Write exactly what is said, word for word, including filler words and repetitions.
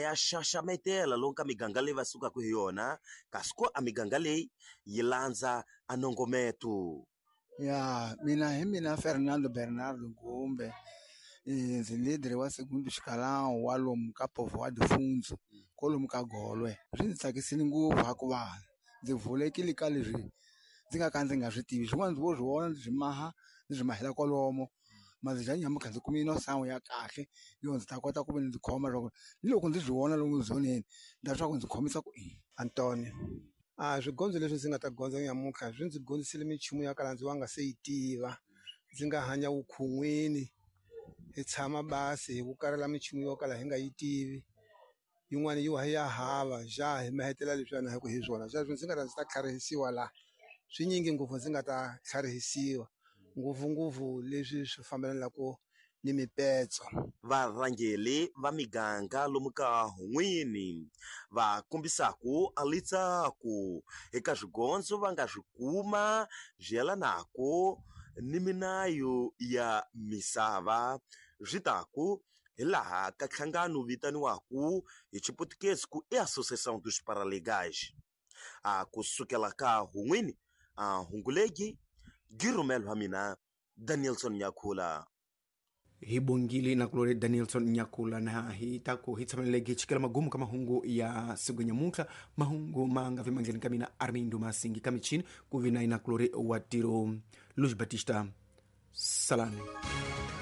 ya xaxametela lomu ka miganga leyi va sukaka hi yona kasi ko a miganga leyi yi landza a nongometo. Ya mina hi mina Fernando Bernardo Gumbe, ndzi leader wa Segundo Escalão wa lomu ka Povoa de Funzo kwalomu ka Golwe. Swi ndzi tsakisile ngopfu hikuva ndzi vulekile ka leswi ndzi nga ka ndzi nga swi tivi swin'wana ndzi vo swi vona ndzi swi maha ndzi swi mahela kwalomo ma dya nyamuntlha ndzi kumile no sangu ya kahle yo ndzi ta kota ku ve ndzi khoma loko ni loko ndzi swi vona lomu zoneni nda swa ku ndzi khomisa ku yini. Antonio a swigondzo leswi ndzi nga ta gondza nyamuntlha swi ndzi dyondzisile minchumu ya kala ndzi wa nga se yi tiva ndzi nga hanya vukhun'wini hi tshama basi hi vukarela minchumu yo kala hi nga yi tivi yin'wana yi wa ya hava ja hi mahetela leswiyana hi ku hi swona sweswo ndzi nga ta ndzi ta tlharihisiwa laha swinyingi ngopfu ndzi nga ta tlharihisiwa ngopfungopfu leswi swi fambelanaka ni mipetso. Varhangeli va miganga lomu ka Hun'wini va kombisaku a litsaku eka swigondzo va nga swi kuma swi yelanaku ni minayo ya misava swi taku hi laha ka nhlangano vitaniwaku hi Xiputukezi ku i Associação dos Paralegais. A kusukela ka Hun'wini a Hungulegi Girumelo wa mina Danielson Nyakhula. Hi bongile na kulore Danielson Nyakula na hi taku hi tshameleke hi chikela magumu ka mahungu ya siku nyamuntlha mahungu ma nga vi mandleni ka mina Armindo Masingi ka michini ku vi na ina kulore wa tiro Luis Batista Salani.